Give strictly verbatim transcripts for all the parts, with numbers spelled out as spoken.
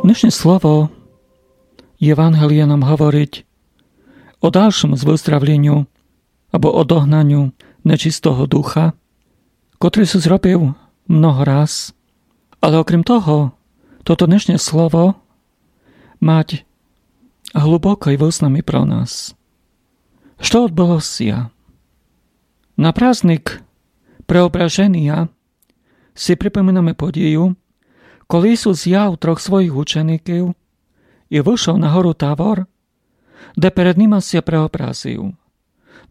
Днешнє слово Євангелія нам говорить о дальшому выздравленю або о догнаню нечистого духа, котрый Ісус робив много раз. Але окрім того, тото днешнє слово мать глубокый вызнам і про нас. Што одбыло ся? На праздник Преображенія си припоминаме подію, коли Ісус взяв трох своїх учеників і вышов на гору Тавор, де перед нима ся преобразив,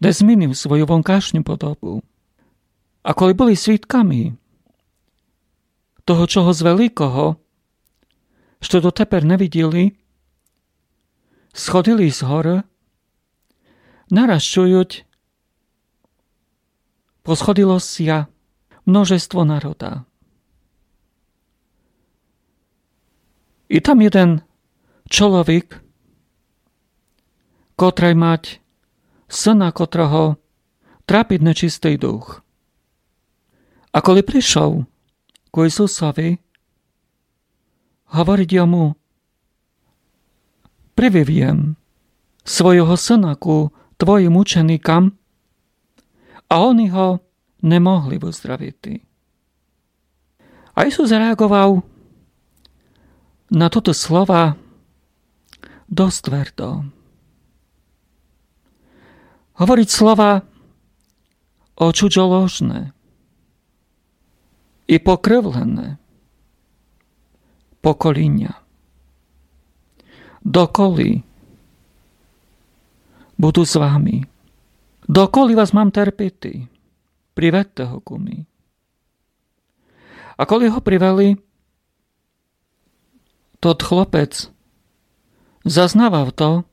де змінив свою вонкашню подобу. А коли были свідками того чогось великого, што дотепер не виділи, сходили з горы, нараз чують: посходило ся множество народа. І там єден чоловік, котрый мать сына, котрого трапить нечистый дух. А коли пришов ку Ісусови, говорить йому: Привів єм свого сына ку твоїм ученикам, а они го не могли выздравити. А Ісус реаґовав на тоты слова досц твердо. Говорить слова о чудзоложне і покривлене поколіня. Доколи буду з вами? Доколи вас мам терпіти? Приведте го ку мі. А коли го привели, тот хлопец зазнавав то,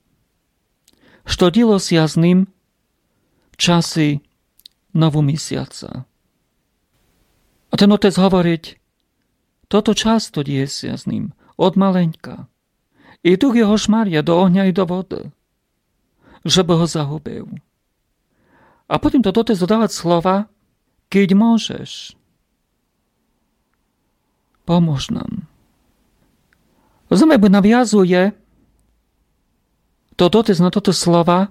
што діло ся з ним в часи новомісяца. А тен отец говорить: тото часто діє ся з ним, од маленька. І дух його шмаря до огня і до воды, жебы го загубив. А потім тот отец додават слова: Кідь можеш, помож нам. Розумієте, якбы навязує тот отец на тоты слова,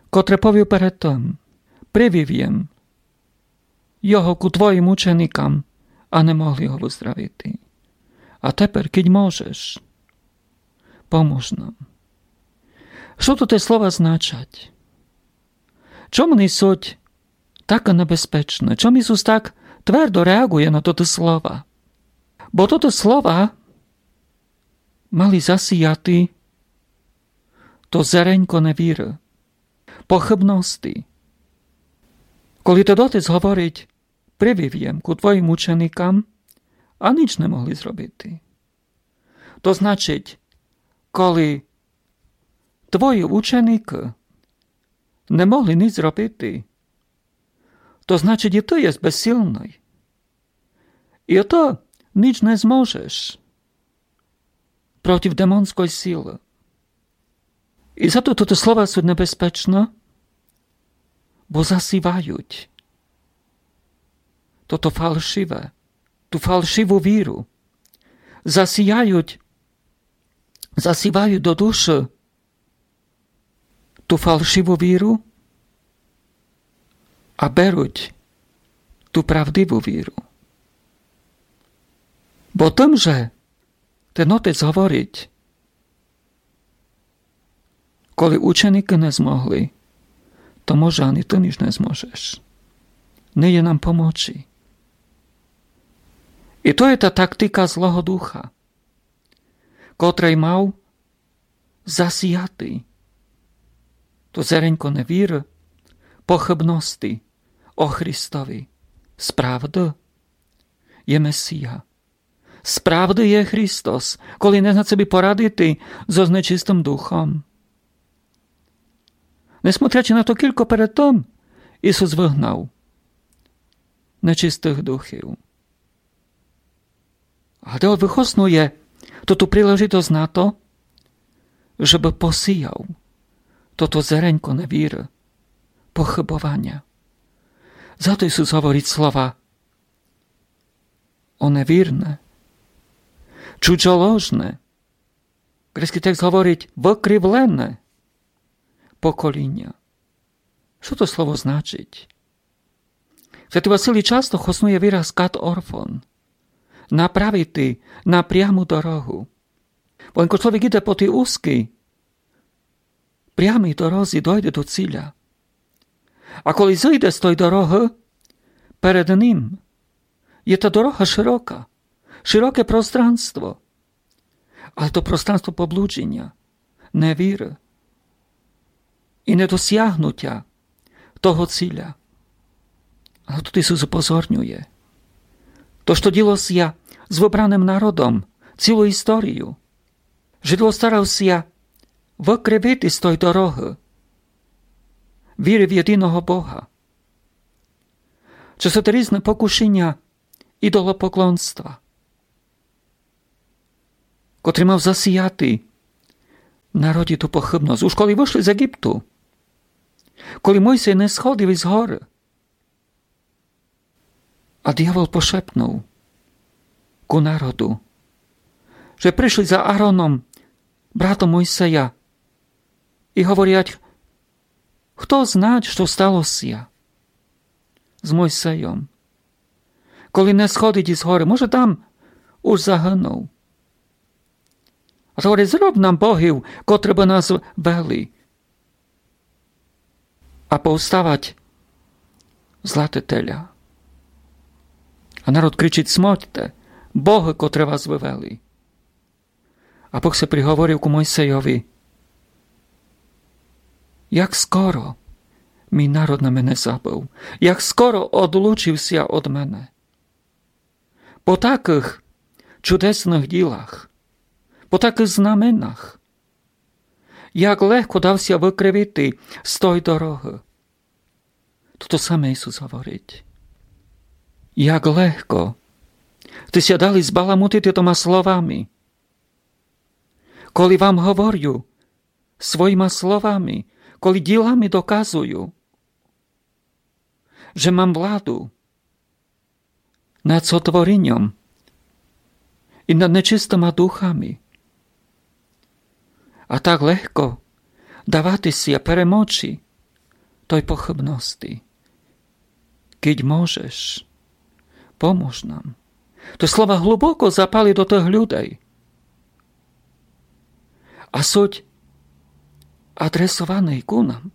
котре повів перед тым: Привів єм його ку твоїм ученикам, а не могли го выздравити. А тепер, кідь можеш, помож нам. Што тоты слова значать? Чом они суть такы небезпечны? Чом Ісус так твердо реаґує на тоты слова? Бо тоты слова мали засіяти то зеренько невіры, похыбности. Коли тот отец говорить: Привів єм ку твоїм ученикам, а ніч не могли зробити. То значить, коли твої ученикы не могли ніч зробити, то значить, і ты єст безсилный. І ты ніч не зможеш проти демонской силы. І зато тоты слова суть небезпечны, бо засівають тото фалшиве, ту фалшиву віру. Засіяють, засівають до души ту фалшиву віру, а беруть ту правдиву віру. Бо тым же тен отец говорить: коли ученикы не змогли, то може ани ты ніч не зможеш. Не є нам помочи. І то є та тактика злого духа, котрый мав засіяти то зеренько невіры, похыбности о Христови. Справды є Месія. Справды є Христос, коли не зна собі порадити зоз нечистым духом. Несмотрячи на то, кілько перед тым Ісус выгнав нечистых духів. А тот выхоснує тоту прилежитость на то, жебы посіяв тото зеренько невіры, похыбованя. Зато Ісус говорить слова: о невірне, чудзоложне Грецькый текст говорить выкривлене поколіня. Што то слово значить? Святый Василій часто хоснує вираз кат орфон. Направити на пряму дорогу. Бо ленко чловек іде по тій узкій, прямій дорозі, дойде до ціля. А коли зыйде з той дорогы, перед ним є та дорога шырока, шыроке пространство. Але то пространство поблуджіня, невіры і недосягнутя того ціля. Але туй Ісус упозорнює. То, што діло ся з выбраным народом цілу історію. Жидło старало ся выкривити з той дорогы віры в єдиного Бога. Чесноты різны покушіня ідолопоклонства, котрый мав засіяти в народі ту похыбность. Уж коли вышли з Єгипту, коли Мойсей не сходив из горы, а дявол пошепнув ку народу, же пришли за Ароном, братом Мойсея, і говорять: Хто знать, што стало ся з Мойсейом, коли не сходить из горы? Може, там уж загынув. А то говорить: Зроб нам богів, котры бы нас вели. А повставать златы теля. А народ кричить: Смольте, богы, котры вас вывели. А Бог ся приговорив ку Мойсейови: Як скоро мій народ на мене забыв, як скоро одлучив ся од мене. По такых чудесных ділах, по такых знаменах, як легко дав ся выкривити з той дорогы. Тото саме Ісус говорить. Як легко сте ся дали збаламутити тома словами. Коли вам говорю своїма словами, коли ділами доказую, же мам владу над сотворіньом і над нечистыма духами. А так легко давати ся перемочи той похыбности. Кидь можеш, помож нам. То слова глубоко запали до тых людей. А суть адресованы ку нам.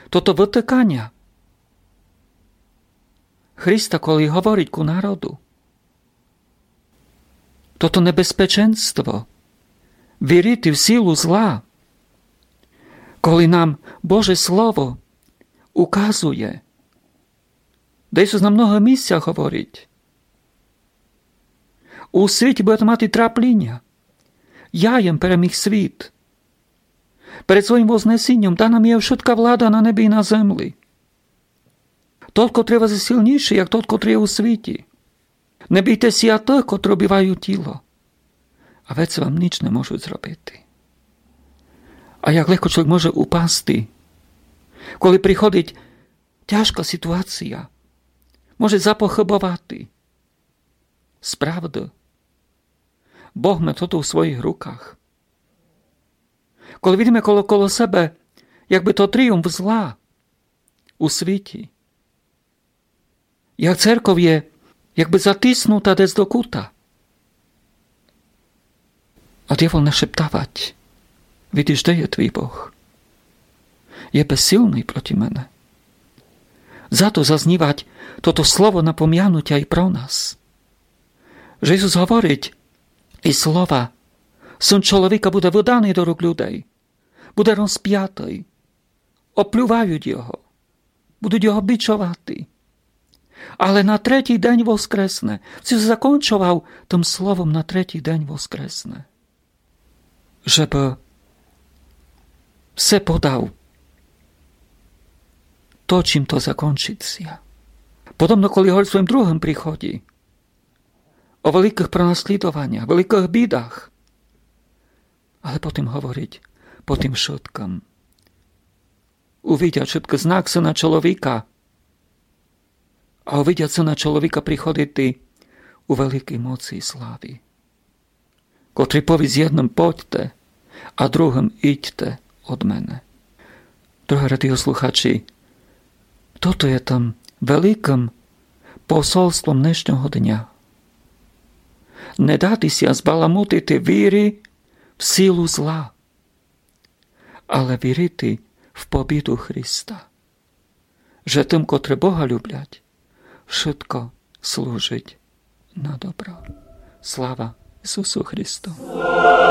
Тото вытыканя Христа, коли говорить ку народу. Тото небезпеченство вірити в силу зла, коли нам Боже Слово указує, де Ісус на многых місцях говорить: У світі будете мати трапліня. Я єм переміг світ. Перед своїм вознесіньом дана мі є вшытка влада на небі і на землі. Тот, котрый з вас є силнішый, як тот, котрый є у світі. Не бійте ся тых, котры убивають тіло, а веце вам ніч не можуть зробити. А як легко чловек може упасти, коли приходить тяжка сітуація, може запохыбовати. Справды, Бог ме тото у своїх руках. Коли видиме коло, коло себе, якбы то тріумф зла у світі, як церков є якбы затиснута десь до кута. А дявол нашептавать: Видиш, де є твій Бог? Є безсилный проти мене. Зато зазнівать тото слово напомянутя і про нас. Же Ісус говорить: І слова: Син чоловіка буде выданый до рук людей, буде розпятый, оплювають його, будуть його бичовати. Але на третій день воскресне. Ісус закончовав тым словом: на третій день воскресне. Жебы все подав то, чим то закончить ся. Подобно, коли говорить о своїм другым приході, о великых пронаслідованях, великых бідах. Але потім говорить: По тым вшыткым увидять вшыткы знак Сина чоловіка, а увидять Сина чоловіка приходити у великій моци і славі. котрый повість єдным: «Подьте», а другым: «Идьте од мене». Дорогы радіослухачі, тото є тым великым посольством днешнього дня. Не дати ся збаламутити вірі в силу зла, але вірити в побіду Христа, же тым, котры Бога люблять, вшытко служить на добро. Слава Ісусу Христу!